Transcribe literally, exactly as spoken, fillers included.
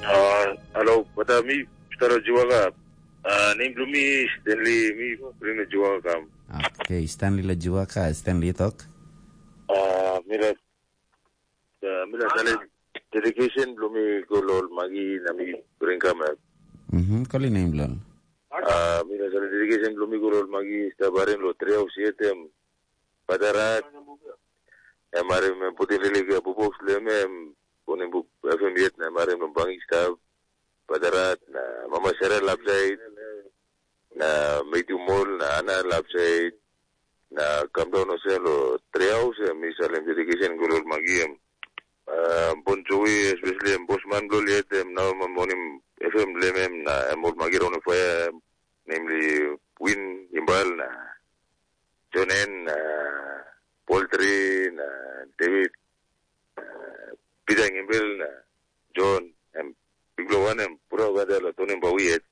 Ah, halo, bata mi, Staro Juwaka. Ah, nem bilong mi, Stanley, mi, Prima Juwaka kam. Okay, Stanley lo Juwaka, Stanley tok. Ah, mi la, ah, mi la sale dedication bilong mi go lo ol magi na mi bring kam. Mhm, koli nem bilong. Ah, mi la sale dedication bilong mi go lo ol magi, sta barim lo trehaus yetem. Padarat, em harim em putim lilik ya bubok bilong em, em bonim buk F M yet na em harim long bangik stap. Padarat, na mama Sera lapsait, na Matthew Mol, na Ana lapsait, na kam daun olsem lo trehaus, em mi salim dedication go lo ol magi em. Ah, Bon Jovi, especially em bosman bilong yet, em nau em bonim F M bilong em, na em ol magi raun faia, em, namely Win, Imbal, na John N, na Paul Tri, na David, na Peter Ngimbel, na John, em, bikpela wan em, pura olgeta lo Tony Bawi yet.